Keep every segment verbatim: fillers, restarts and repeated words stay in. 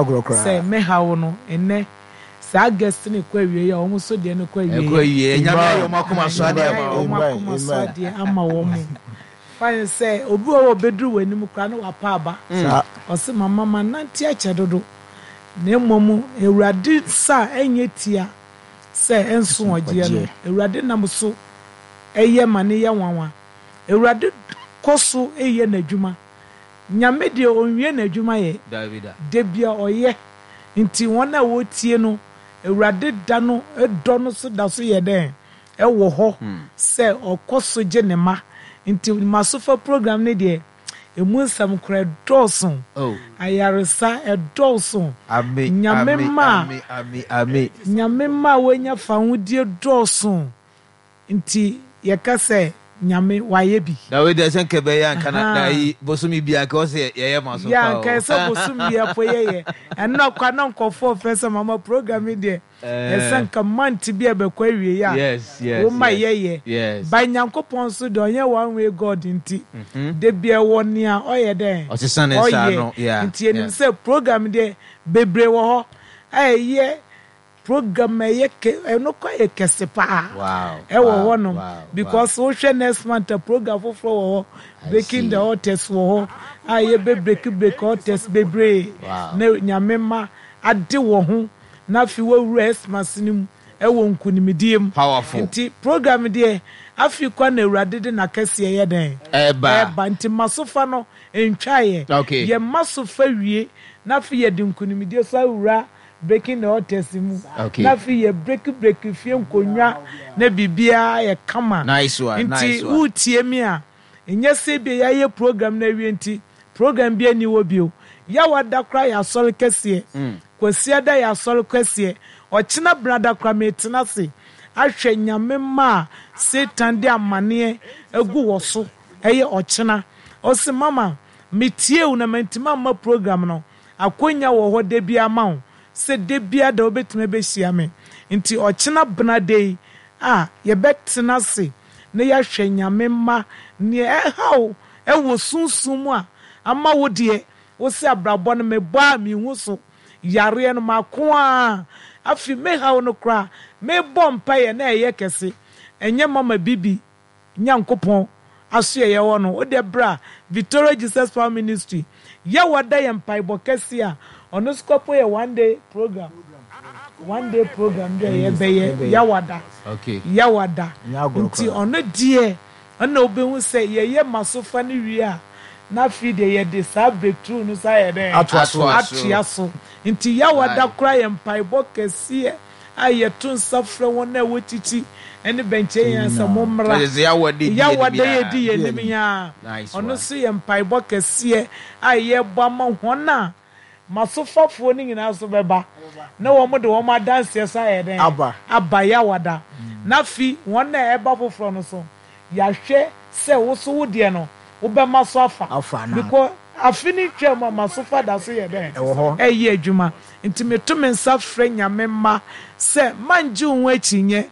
Agorɔ koraa. Sɛ mehaw no ɛnɛ saa guest ne kɔ awie a, wɔn nso deɛ no kɔ awie. Ɛkɔ awie. Nyame ayɛ ɔmo akoma so adeɛ ama wɔn wɔn. Akoma so adeɛ ama wɔn mo fine sɛ obi wɔ hɔ obɛduru wɔ anim koraa na wapa aba. Saa. Ɔsɛ mama ma nante akyɛ dodo, na mmom Awurade nsa a ɛnyɛ tia sɛ ɛnso ɔgyeɛ no, Awurade nam so ɛyɛ ma ne yɛ nwanwa. Awurade kɔ so ɛyɛ n'adwuma. Nyame deɛ, ɔnwie n'adwuma yɛ. Davida. Da bia ɔyɛ, nti wɔn a wɔtie no, Awurade da no dɔ no so da so yɛ dɛn ɛwɔ hɔ sɛ ɔkɔ so gye ne ma. Nti Masofa program ne deɛ, emu nsɛm kora ɛdɔɔso. Oh. Ayaresa ɛdɔɔso. Ame. Nyame ame ma ame ame ame. Nyame ma a wɔanya fahodie dɔɔso, nti yɛka sɛ Nyame wayɛ bi. Na wei deɛ, sɛ nka ɛbɛyɛ anka na na Aha. yi bosomi bi anka ɔsɛ yɛyɛ ma so yɛ pa anka o. ɛsɛ bosom bi ɛpo yɛyɛ ɛnna kwa na nkɔfoɔ fɛ sɛ mama program yi deɛ, ɛsɛ nka month bi a ɛbɛkɔ awie a yes yes woma yes yɛyɛ. yes By Nyankopɔn so deɛ, ɔnyɛ one way God, nti de bia ɛwɔ nea ɔyɛ dɛn Ɔsesa ne nsa ɔyɛ ano, yeah, nti yɛnim yeah. sɛ program deɛ, bebree wɔ hɔ a ɛyɛ program a ɛyɛ kɛ, ɛno kɔ yɛ kɛse paa wow ɛwɔ wow, hɔnom wow, because wohwɛ next month a, program foforɔ wɔ hɔ. I Breaking see. the Altars wɔ hɔ a yɛbɛ break break altars bebree Wow. na Nyame ma ade wɔ ho na afei wɔawura Xmas no mu ɛwɔ nkonimdie mu. Powerful. Nti program deɛ, afei kɔ na Awurade de n'akɛseɛ yɛ dɛn ɛba. Ɛba, nti Masofa no ntwaeɛ. Okay. Yɛ Masofa wie na afei yɛde nkonimdie so awura Breaking the Altars mu. Okay. Na afei yɛ break break fie nkonnwa na biribiara yɛ kama. Nice one. Nti nice one. wotie mi a, nyɛ sɛ bi yɛayɛ program no awie nti program bi ani wɔ bio. Yɛwada koraa yɛ asɔre kɛseɛ. Mm. Kwasiada yɛ asɔre kɛseɛ. Ɔkyena brada koraa metena ase ahwɛ Nyame ma a Satan de amanneɛ agu wɔ so. Ɛyɛ ɔkyena ɔse mama metie wo na mantimi amma program no. Akonya wɔ hɔ da bi ama wo sɛ da bia da wobɛtumi abɛhyia me. Nti ɔkyena benada yi a yɛbɛtena ase na yɛahwɛ Nyame mma nea ɛhaw ɛwɔ sunsum mu a ama wo deɛ wo sɛ abrabɔ no mebɔ a mehu so yareɛ no mako a afei mehaw no koraa mebɔ mpaeɛ na ɛyɛ kɛse. Ɛnyɛ Mama Bibi Nyankopɔn aso yɛ yɛwɔ no wode berɛ a Victoria Jesus Power Ministry yɛwɔ da yɛ mpaebɔ kɛse a ɔno nso kɔpo yɛ one day program, one day program bi a yɛbɛyɛ Yawada. Okay. Yawada. Nyɛ agorɔ nti koraa. Ɔno deɛ, ɔna wobɛhu sɛ yɛyɛ Masofa no wie a, na afei deɛ yɛde saa breakthrough no sa yɛ dɛn Atoa so. Atoa so. Atoa so. Nti Yawada Aye. koraa yɛ mpaebɔ kɛseɛ a yɛto nsa frɛ wɔn a ɛwɔ kyikyi ne bɛnkyɛn yɛn sɛ mommra. Kyerɛ sɛ Yawada di Yawada anim. Yɛdi yɛn anim yaa. Nice ɔno one. nso yɛ mpaebɔ kɛseɛ a yɛbɔ ama wɔn a Masofafoɔ no nyinaa nso bɛba na wɔn de wɔn adanseɛ so ayɛ dɛn Aba. Aba Yawada. Na afi wɔn a ɛba foforɔ no so, yɛahwɛ sɛ woso wo deɛ no wobɛma so afa. Afa na. Because afi ne twam a, Masofa da so yɛ dɛn Ɛwɔ hɔ. Ɛyɛ adwuma. Nti meto me nsa frɛ Nyame mma sɛ mangye wo ho akyinnye,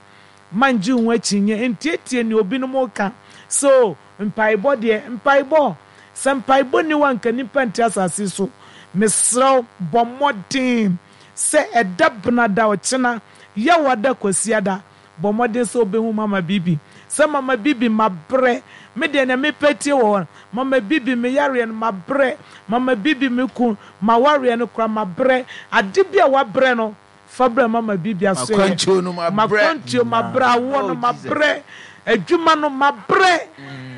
mangye wo ho akyinnye, ntietie nea obinom ka so. Mpaebɔ deɛ, mpaebɔ sɛ mpaebɔ ni hɔ a nka nipa nte asase so. Mesrɛ wo, bɔ mmɔden sɛ ɛda benada, ɔkyena Yɛwada, Kwasiada, bɔ mmɔden sɛ wobɛhu Mama Bibi sɛ Mama Bibi mabrɛ, me deɛ nea mepɛ tie wɔ hɔ. Mama Bibi, me yareɛ no mabrɛ. Mama Bibi, me ku mawareɛ no kora mabrɛ. Ade bi a wabrɛ no, fa brɛ Mama Bibi aso yɛ. Makwantuo no mabrɛ. Makwantuo mabrɛ, awoɔ no Oh, Jesus. mabrɛ, adwuma no mabrɛ,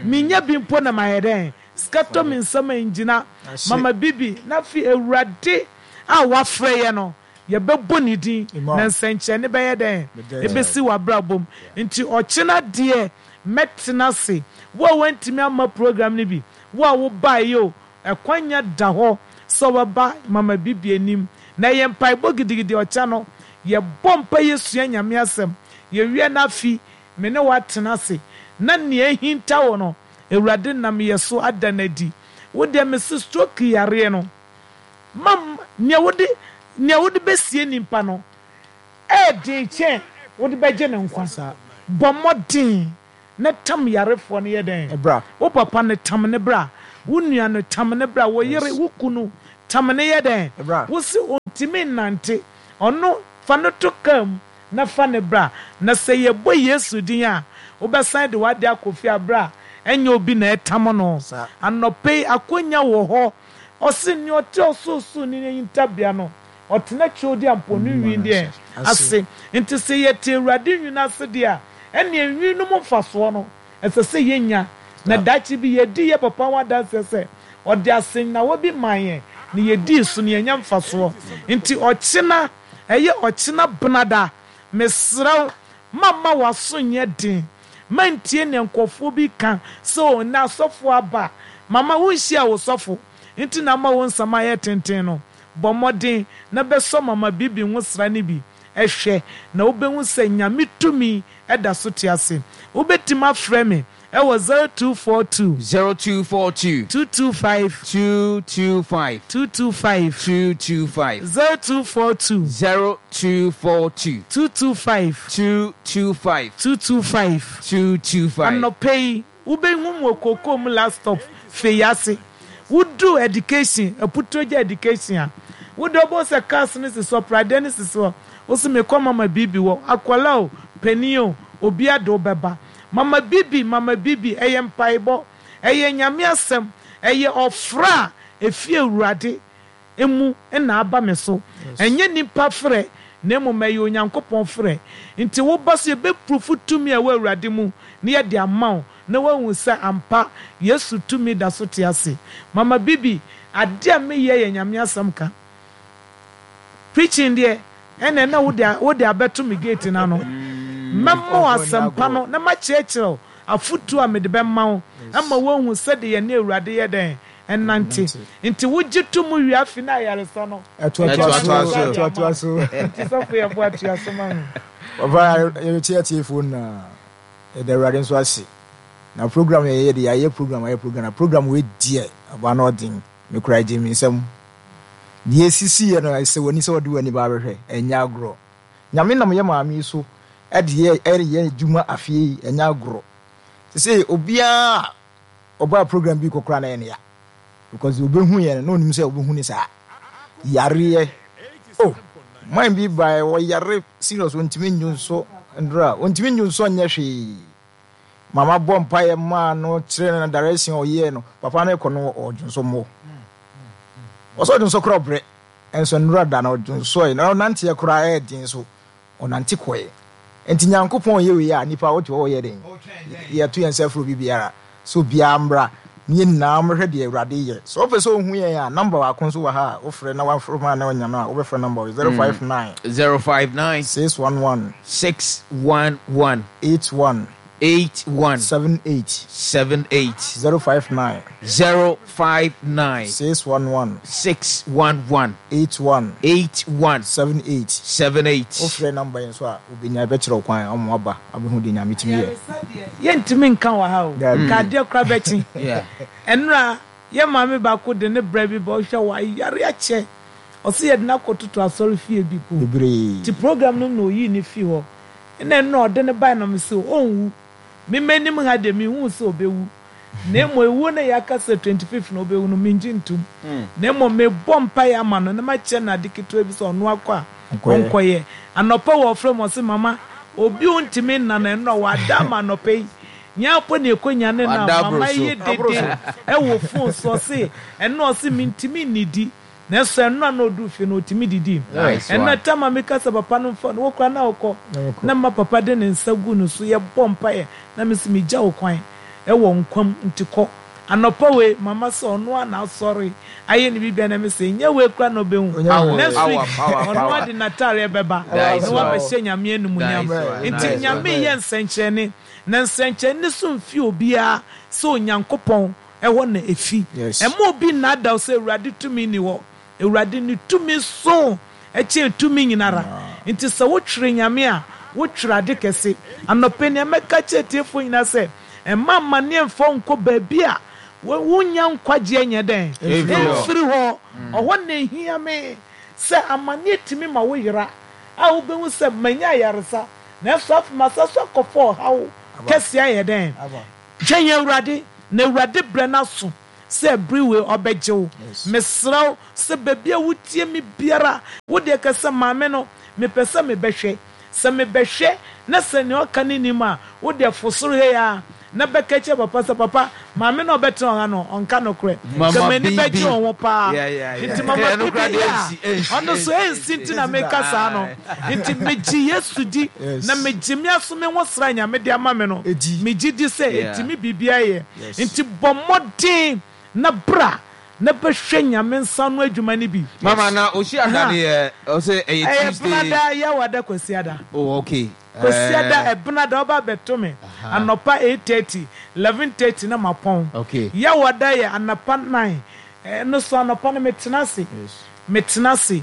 menya bi mpo na mayɛ dɛn, sika tɔ me nsɛm a ngyina. Mama Bibi na afei Awurade a wafrɛ yɛ no, yɛbɛbɔ ne din Amen. na nsɛnkyerɛnne bɛyɛ dɛn Bɛda. Ɛbɛsi w'abrabɔ mu. Nti ɔkyena deɛ mɛtena ase. Wo a woantumi amma program no bi, wo a wobaeɛ o, ɛkwanya da hɔ sɛ wɔbɛba Mama Bibi anim na ɛyɛ mpaebɔ gidigidi. Ɔkyɛ no yɛbɔ mpa, yɛsua Nyame asɛm, yɛwie no afi me ne woatena ase na nea ahinta wo no, Awurade nam yɛ so ada no adi. Wo deɛ, mese stroke yareɛ no ma nea wode nea wode bɛsie nipa no ɛɛden kyɛn wode bɛgye ne nkwa. Bɔ mmɔden na tam yarefoɔ no yɛ dɛn Ɛbra. Wo papa no, tam ne bra. Wo nua no, tam ne bra. Wo yere, wo kunu, tam ne yɛ dɛn Ɛbra. Wo se Ɔntumi nnante. Ɔno, fa no to kaa mu na fa no bra. Na sɛ yɛbɔ Yesu din a, wobɛsan de w'ade akɔ fie bere a ɛnyɛ obi na ɛtam no. Anɔpa yi, akwannya wɔ hɔ. Ɔse, nea ɔte Ɔsorosoroni no hintabea no, ɔtena Tweodiampɔn no nwini deɛ ase. Nti sɛ yɛte Awurade nwini ase deɛ a, ɛnneɛ nwini no mu mfasoɔ no, ɛsɛ sɛ yɛnya. Na daakye bi yɛadi yɛn papa ho adanseɛ sɛ ɔde asɛnnawa bi maa yɛn, na yɛdii so, na yɛanya mfasoɔ. Nti ɔkyena, ɛyɛ ɔkyena benada, mesrɛ wo, mamma w'aso nyɛ den. Mantie nea nkurɔfoɔ bi ka sɛ, 'O, nnɛ asɔfoɔ aba. Mama wonhyiaa wo sɔfo nti na ama wo nsɛm ayɛ tenten no. Bɔ mmɔden na bɛsɔ Mama Bibi nwosra no bi hwɛ, na wobɛhu sɛ Nyame tumi da so te ase. Wobɛtumi afrɛ me wɔ zero two four two. Zero two four two. Two two five. Two two five. Two two five. Two two five. Zero two four two. Zero two four two. Two two five. Two two five. Two two five. Two two five. Anɔpa yi, wobɛhu me wɔ Kokoom last stop, Fei ase. Wodu education, Aputuogya education a, wode wobɛhu sɛ cars no sisi hɔ, pradeɛ no sisi hɔ. Wo se mekɔ Mama Bibi hɔ, akwadaa o, panin o, obiara de wo bɛba. Mama Bibi, Mama Bibi, ɛyɛ mpaebɔ, ɛyɛ Nyame asɛm, ɛyɛ ɔfrɛ a ɛfiri Awurade mu na aba me so. Ɛnyɛ nnipa frɛ, na mmom ɛyɛ Onyankopɔn frɛ. Nti woba so yɛbɛpurufu tumi a ɛwɔ Awurade mu na yɛde ama wo, na woahu sɛ ampa Yesu tumi da so te ase. Mama Bibi, adeɛ a meyɛ yɛ Nyame asɛm ka. Preaching deɛ, ɛnna na wode wode abɛto me gate no ano. Mɛma wo asɛmpa no na makyerɛkyerɛ wo afotuo a mede bɛma wo ama woahu sɛdeɛ yɛne Awurade yɛ dɛn ɛnante. Nti wogye to mu wie afi na ayaresa no Ɛtoatoa so, ɛtoatoa so. Nti sɔfo yɛ boa tua so ma me. Papa, yɛbɛkyɛ atiefoɔ nyinaa. Yɛda Awurade nso ase. Na program yɛyɛ de yɛayɛ program ayɛ program na program wei deɛ ɔba no ɔden. Mekura gye me nsam. Deɛ esisi yɛ no ɛsɛ w'ani sɛ ɔde w'ani ba abɛhwɛ. Ɛnyɛ agorɔ. Nyame nam yɛ maame yi so ɛde yɛ ɛyɛ adwuma afie yi ɛnyɛ agorɔ. Sɛ obiara ɔbaa program bi kɔkora na ɛyɛ ne ya. Because obehu yɛn no na onim sɛ obehu ne saa. Yareɛ. Oh, man bi ba ɔyare serious, ontumi nyu nso ndora, ontumi nyu nso nyɛ hwee. Mama bɔ mpaeɛ maa no kyerɛ no direction ɔyɛɛ no. Papa no kɔ no ɔdwo nso mmɔ. Ɔsɛ ɔdwo nso koraa ɔbrɛ. Ɛnso nnora da no ɔdwo nso ɛ na ɔnanteɛ koraa ɛyɛ den so ɔnante kɔɛ. Nti Nyankopɔn yɛ wei a nipa wote hɔ ɔyɛ den. Yɛto yɛn nsa firi obi biara so obiara mmra ne yɛn nyinaa mmɛhwɛ deɛ Awurade yɛ. Sɛ wopɛ sɛ ohu yɛn a, number baako nso wɔ ha a wofrɛ na wafrɛ ma na ɔnya no a wobɛfrɛ number wɔ zero five nine Zero five nine six one one six one one eight one eight one seven eight seven eight zero five nine zero five nine six one one six one one eight one eight one seven eight. seven eight. Wofrɛ number yi nso a obenya ɛbɛkyerɛ wo kwan ɔmo aba abɛhu deɛ Nyame tumi yɛ. Yɛntumi nka wɔ ha o. Dabi. Ka adeɛ koraa bɛkye. Yeah. Ɛnora yɛ maame baako de ne brɛ bi ba ɔhwɛ wayare akyɛ. Ɔsɛ yɛde no akɔtoto asɔre fie bi po. Bebree. Nti program no na oyii ne fi hɔ. Ɛna ɛnora ɔde ne bae na me sɛ ɔnwu. Me m'anim ha deɛ mehu sɛ ɔbɛwu. Na mmom ewuo no yɛaka sɛ twenty fifth na ɔbɛwu no mengye ntom. Na mmom mebɔ mpaeɛ ama no na makyerɛ no ade ketewa bi sɛ ɔno akɔ a ɔnkɔyɛ. Anɔpa wɔ ɔfrɛ mu ɔse mama obi ntumi nna no ɛnora wada ama anɔpa yi. Nyaapɔ ne ɛkɔnya ne na Wada mama aboro so. yɛ dede ɛwɔ phone so ɔse ɛno ɔse mentumi nnidi. Nanso ɛnora na ɔduru fie no ɔtumi didi. Nice Ɛnora one. tama meka sɛ papa no mfa no wokora na wokɔ Na wokɔ. na ma papa de ne nsa gu no so yɛbɔ mpaeɛ na mesi megya wo kwan ɛwɔ nkwam nti kɔ. Anɔpa wei mama sɛ ɔno a na asɔre ayɛ ne bibia na mese nyɛ wei kora na ɔbɛhu. Onyɛ Next Power, week power, ɔno power. ade n'ataareɛ bɛba Nice na one. wabɛhyɛ Nyame animuonyam. Nice one. Nti Nice one. Nyame yɛ nsɛnkyerɛnne na nsɛnkyerɛnne so mfi obiara sɛ Onyankopɔn ɛhɔ na efi. Yes. Ɛma obi nnadaw sɛ Awurade tumi ni hɔ. Awurade ne tumi so ɛkyɛn tumi nyinara. Nti sɛ wotwere Nyame a wotwere ade kɛse. Anɔpɛ nea mɛka kyerɛ tiefoɔ nyinaa sɛ ɛma amanneɛ mfa wo nkɔ baabi a wonya nkwagyeɛ nyɛ dɛn Ɛmfiri hɔ. ɛmfiri hɔ. Ɔhɔ na ehia me sɛ amanneɛ tumi ma wo yera a wobɛhu sɛ manya ayaresa nanso afei masa so akɔfa ɔhaw kɛseɛ ayɛ dɛn. Aba. Twɛn Awurade na Awurade brɛ n'aso Sɛ bere wei ɔbɛgye wo. Mesrɛ wo sɛ baabi a wotie me biara, wo deɛ ka sɛ, "Maame no, mepɛ sɛ mebɛhwɛ. Sɛ mebɛhwɛ na sɛ nea ɔka no nnim a, wo deɛ fo soro ha yi ara na bɛka kyerɛ papa sɛ, 'Papa, maame no a ɔbɛtena ha no, ɔnka nokorɛ. Nka m'ani bɛgye wo ho paa. Nti Mama Bibi yɛ a, ɔno nso ɛnsi nti na meka saa no. Nti megye Yesu di, na megye me aso me ho sra a Nyame de ama me no. Megye di sɛ ɛtumi biribiara yɛ. Nti bɔ mmɔden na bra na bɛhwɛ Nyame nsa ano adwuma no bi. Mama, na Osiada no yɛ, ɔsɛ ɛyɛ Tuesday? Ɛyɛ Benada, Yawada, Kwasiada. Oh, okay. Kwasiada, Ɛbenada woba abɛto me anɔpa eight thirty, eleven thirty na mapɔn. Okay. Yawada yɛ anɔpa nine, ɛno so anɔpa no metena ase, metena ase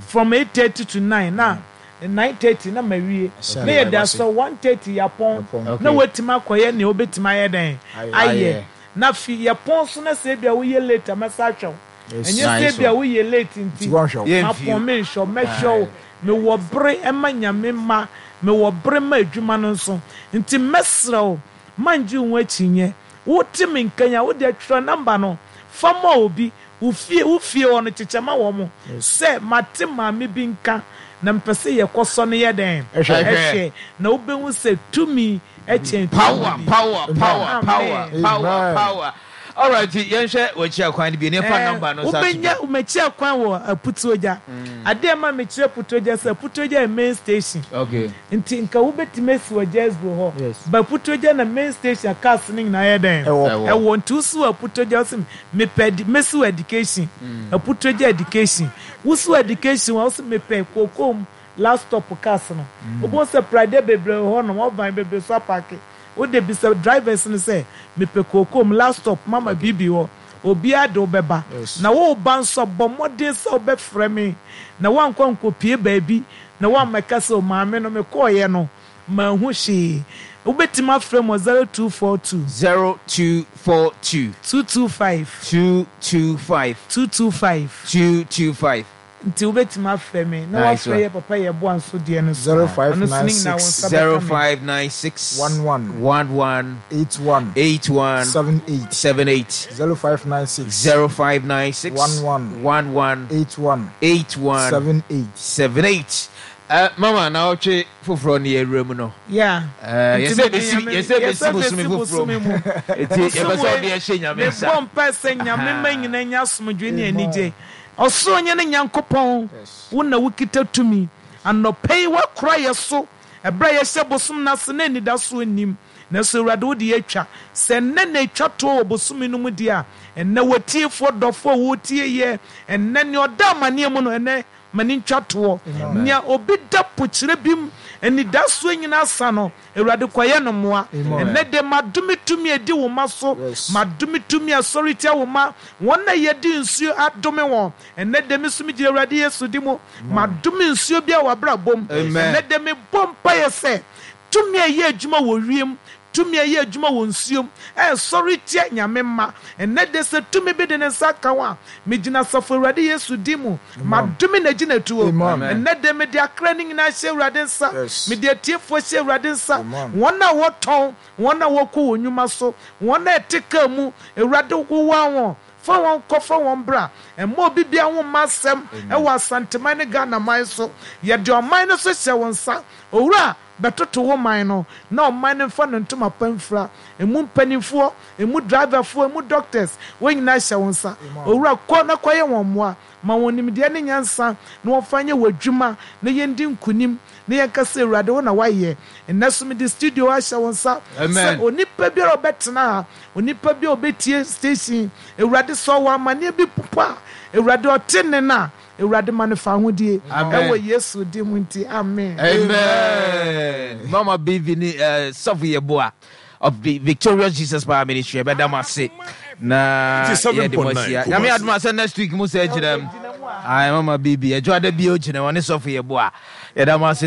from eight thirty to nine na nine thirty na mawie. Na yɛde asɔ one thirty yɛapɔn na woatumi akɔyɛ nea wobɛtumi ayɛ dɛn ayɛ. Na fi yɛpɔn so na sɛ ebia woyɛ late a mɛsa ahwɛ wo. Ɛnyɛ sɛ ebia woyɛ late nti mapɔn menhwɛ wo, mɛhwɛ wo. Mewɔ bere ma Nyame mma, mewɔ bere ma adwuma no nso. Nti mɛsrɛ wo, mangye wo ho akyinnye. Wote me nka yi a, wo deɛ twerɛ number no fa ma obi, wo fie, wo fie hɔ no kyekyɛ ma wɔn sɛ mate maame bi nka na mepɛ sɛ yɛkɔsɔ no yɛ dɛn? Hwɛ. Na wobɛhu sɛ tumi kyɛn tumi Power, bi. power, power, power, Amen. power, power. All right, yɛnhwɛ w'akyi akwan no bi. Ne fa number no sa to Wobɛnya dwa. m'akyi akwan wɔ Aputuogya. Adeɛ a ɛma mekyerɛ Aputuogya sɛ Aputuogya yɛ main station. Okay. Nti nka wobɛtumi asi wɔ Jesbo hɔ. Ba Aputuogya na main station a cars no nyinaa yɛ dɛn? Ɛwɔ. Ɛwɔ. Nti wosi wɔ Aputuogya wose mepɛ edi mɛsi wɔ education. Aputuogya education. Wosi wɔ education a wose mepɛ Kokom last stop cars no. Wobɛhu sɛ pradeɛ bebree wɔ hɔnom, ɔvan bebree nso apaake. Wode bisa drivers no sɛ, mepɛ Kokom last stop mama B B hɔ. Obiara de wo bɛba. Na woreba nso a, bɔ mmɔden sɛ wobɛfrɛ me na woankɔ ankɔpue baabi na woammɛka sɛ, 'O maame no, mekɔeɛ no, manhu hwee. Wobɛtumi afrɛ me wɔ zero two four two. Zero two four two. Two two five. Two two five. Two two five. Two two five. Nti wobɛtumi afrɛ me na Nice woafrɛ one. yɛ papa Yɛboa nso deɛ no so. Zero five Ɔno nso nine ne nyinaa wo six nsa Zero bɛka me. five nine six one one one one eight one eight one seven eight seven eight. zero five nine six Zero five nine six one one one one eight one eight one seven eight. seven eight. Uh, mama, na ɔtwe foforɔ ne yɛwura mu no. Yeah. Uh, Nti yɛsɛ mede bɛsi Nyame- yɛsɛ bɛsi yɛsɛ bosome bɛsi foforɔ bosome mu. mu. Nti yɛpɛ sɛ Bosome ɔde ɛhyɛ Nyame nsa. Mebɔ mpae sɛ Nyame ma nyina nya asomdwoe ne anigye. Ɔsoro nyɛ ne Nyankopɔn, wo na wokita tumi. Anɔpa yi woakora yɛ so ɛberɛ a yɛhyɛ bosom no ase na anidasoɔ nnim. Nanso Awurade wode yɛatwa. Sɛ nnɛ na ɛtwa toɔ wɔ bosome no mu deɛ a, ɛnnɛ w'atiefoɔ dɔfoɔ a wɔretie yɛ, ɛnnɛ nea ɔda amanneɛ mu no, ɛnnɛ ma ne ntwa toɔ. Nea obi da pokyerɛ bi mu, anidasoɔ nyinaa sa no, Awurade kɔyɛ no mmoa. Ɛnnɛ de madome tumi a ɛdi wo ma so, madome tumi a sɔre tia wo ma, wɔn a yɛde nsuo adome wɔn. Ɛnnɛ de me so megyina Awurade Yesu di mu, madome nsuo bi a w'abrabɔ mu. Amen. Ɛnnɛ de mebɔ mpaeɛ sɛ tumi a ɛyɛ adwuma wɔ wiem, tumi a ɛyɛ adwuma wɔ nsuom, ɛsɔre tia Nyame mma. Ɛnnɛ de sɛ tumi bi de ne nsa ka wo a, megyina asafo Awurade Yesu din mu, madome n'agyinatuo. Amen. Ɛnnɛ de mede akra no nyinaa hyɛ Awurade nsa. Yes. Mede atiefoɔ hyɛ Awurade nsa. Amen. Wɔn a wɔtɔn, wɔn a wɔkɔ wɔn nnwuma so, wɔn a ɛte kaa mu, Awurade wowa wɔn. Fa wɔn kɔ, fa wɔn bra. Ɛmma obi bia ho mma asɛm ɛwɔ Asanteman ne Ghana man so. Yɛde ɔman no so hyɛ wo nsa. Owura, bɛtoto wo man no na ɔman no mfa no ntoma pa mfira. Emu mpanimfoɔ, emu driverfoɔ, emu doctors, wɔn nyinaa hyɛ wo nsa. Owura, kɔ na kɔyɛ wɔn mmoa. Ma wɔn nimdeɛ ne nyansa na wɔmfa nyɛ wɔ adwuma na yɛndi nkonim na yɛnka sɛ Awurade wo na woayɛ. Ɛnnɛ so mede studio ahyɛ wo nsa Amen. sɛ onipa biara a ɔbɛtena ha, onipa bi a ɔbɛtie station, Awurade sɛ ɔwɔ amanneɛ bi popo a, Awurade ɔte ne no a, Awurade ma no fa ahodie. Amen. Ɛwɔ Yesu din mu nti, amen. Amen. Mama B V ni uh, Sɔfo Yeboah of the Victorious Jesus Power Ministry. Ɛbɛda mo ase na yɛde mo ahyia. Nyame adom a sɛ next week mu sɛ gyina mu. Ai, Mama B B, ɛdwo ada bio gyina wɔne Sɔfo Yeboah. Yɛda mo ase.